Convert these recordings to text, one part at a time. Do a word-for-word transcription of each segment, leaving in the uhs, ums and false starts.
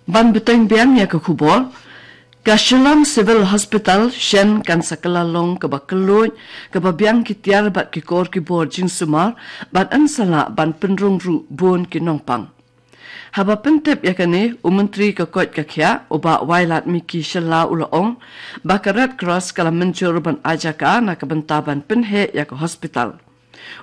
Ban bteng biang ïa ka khubor, ka Shillong Civil Hospital shen kan sa kylla long kaba kylluid, kaba biang ki tiar bad ki kor ki bor jingsumar, bad yn sa lah ban pynrung ruh bun ki nongpang. Haba pyntip ïa kane, u Myntri ka koit ka khiah, u Bah Wailadmiki Shylla u la ong ba ka Red Cross ka la mynjur ban ai jaka na ka bynta ban pynheh ïa ka hospital.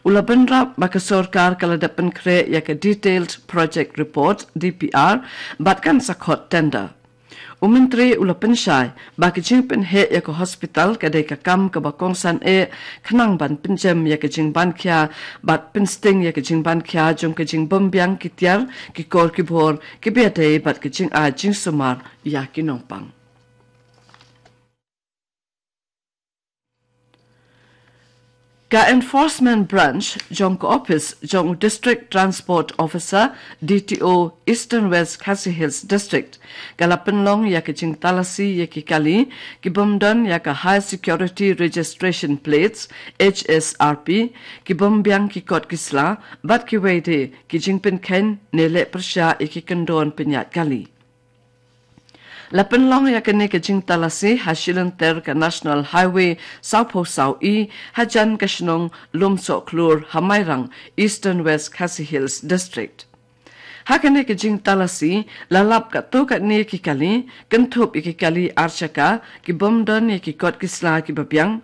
U la bynrap ba ka sorkar ka la dep pynkhreh ïa ka Detailed Project Report, D P R, bad kan sa khot tender. U Myntri u la pynshai ba ka jingpynheh ïa ka hospital ka dei ka kam kaba kongsan eh, khnang ban pynjem ïa ka jingbankhia bad pynsting ïa ka jingbankhia jong ka jingbymbiang ki tiar, ki kor ki bor, kiba ïadei bad ka jingai jingsumar ïa ki nongpang. Ka Enforcement Branch jong ka Office jong u District Transport Officer, D T O, Eastern West Khasi Hills District, ka la pynlong ïa ka jingtalasi ïa ki kali ki bym don ïa ka High Security Registration Plates, H S R P, ki bym biang ki kot ki sla, bad kiwei de ki jingpynkheiñ ne leh pyrshah ïa ki kyndon pynïaid kali. La pynlong ïa kane ka jingtalasi ha shilynter ka National Highway sawphew saw E, hajan ka shnong Lumsohkhlur ha Mairang, Eastern West Khasi Hills District. Ha kane ka jingtalasi, la lap katto katne ki kali, kynthup ïa ki kali ar shaka, ki bym don ïa ki kot ki sla kiba biang,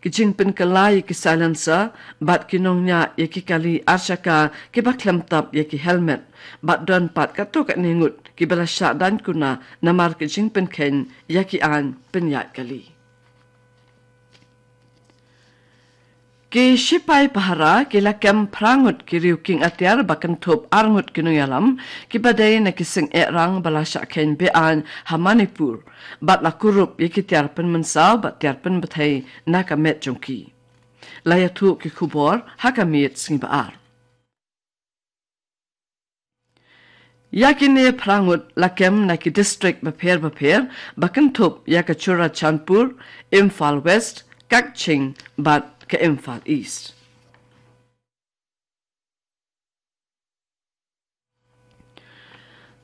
ki jingpynkylla ïa ki silencer, bad ki nongñiah ïa ki kali ar shaka kiba khlem tap ïa ki helmet, bad don pat katto katne ngut kiba la shah daiñ kuna namar ka jingpynkheiñ ïa ki aiñ pynïaid kali. Ki shipai pahara ki la kem phra ngut ki riew kieng atiar ba kynthup ar ngut ki nongïalam kiba dei na ki seng eh rang ba la shah kheiñ be-aiñ ha Manipur, bad la kurup ïa ki tiar pynmynsaw bad tiar pynbthei na ka met jong ki. La ïathuh ki khubor ha ka miet sngi ba ar. Ïa kine phra ngut la kem na ki district bapher bapher ba kynthup ïa ka Churachandpur, Imphal West, Kakching bad ka Imphal East.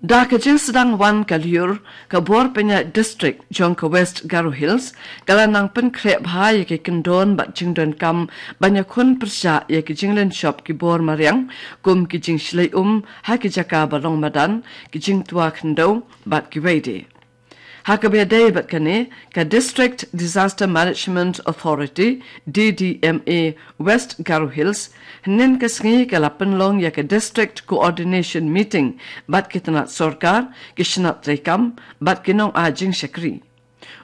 Da ka jingsdang wan ka lyiur, ka bor pynïaid district jong ka West Garo Hills ka la nang pynkhreh bha ïa ki kyndon bad jingdonkam ban ïakhun pyrshah ïa ki jinglynshop ki bor mariang, kum ki jingshlei um ha ki jaka ba long madan, ki jingtwa khyndew bad kiwei de. Ha kaba ïadei bad kane, ka District Disaster Management Authority, D D M A, West Garo Hills, hynnin ka sngi ka la pynlong ïa ka District Coordination Meeting bad ki tnat sorkar, ki shnat treikam bad ki nongai jingshakri.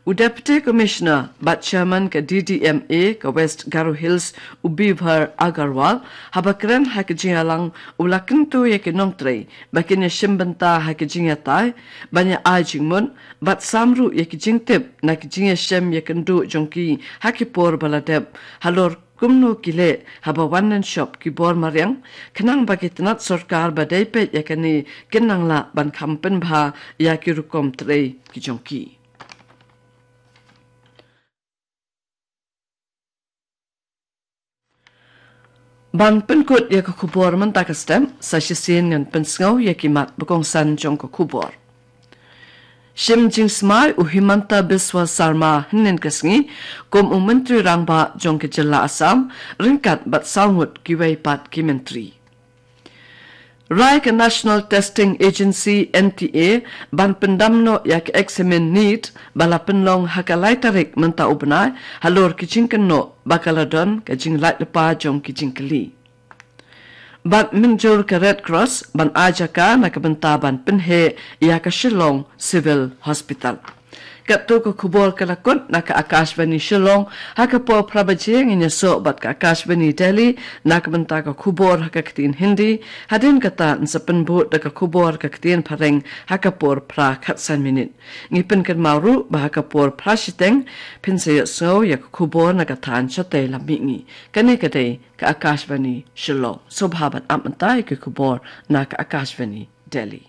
U Deputy Commissioner bad Chairman ka D D M A ka West Garo Hills, u Bibhar Agarwal, haba kren ha ka jingïalang, u la kyntu ïa ki nongtrei ba kin ïashim bynta ha ka jingïatai, ban ïa ai jingmut bad sam ruh ïa ki jingtip na ka jingïashem ïakynduh jong ki ha ki por ba la dep, halor kumno ki leh haba wan lynshop ki bor mariang, khnang ba ki tnat sorkar ba dei peit ïa kane kin nang lah ban kham pynbha ïa ki rukom trei ki jong ki. Ban pynkut ïa ka khubor mynta ka step, sa shisien ngan pynsngew ïa ki mat ba kongsan jong ka khubor. Shim jingsmai u Himanta Biswa Sarma hynnin ka sngi kum u Myntri Rangbah jong ka jylla Assam, ryngkat bad saw ngut kiwei pat ki myntri. Rai ka National Testing Agency, N T A, ban pyndam noh ïa ka eksamin NEET ba la pynlong ha ka lai tarik mynta u bnai, halor ki jingkynnoh ba ka la don ka jinglait lypa jong ki jingkylli. Bad mynjur ka Red Cross ban ai jaka na ka bynta ban pynheh ïa ka Shillong Civil Hospital. Katto ka khubor ka la kut na ka Akashvani Shillong, ha ka por phra baje ngin ïasoh bad ka Akashvani Delhi na ka bynta ka khubor ha ka ktien Hindi, hadien kata yn sa pynbud da ka khubor ha ka ktien Phareng ha ka por phra khatsan minit. Ngi pynkynmaw ruh ba ha ka por phra shiteng phin sa ïohsngew ïa ka khubor na ka thaiñ shatei lam mihngi. Kane ka dei ka Akashvani Shillong. Sngewbha ban ap mynta ïa ka khubor na ka Akashvani Delhi.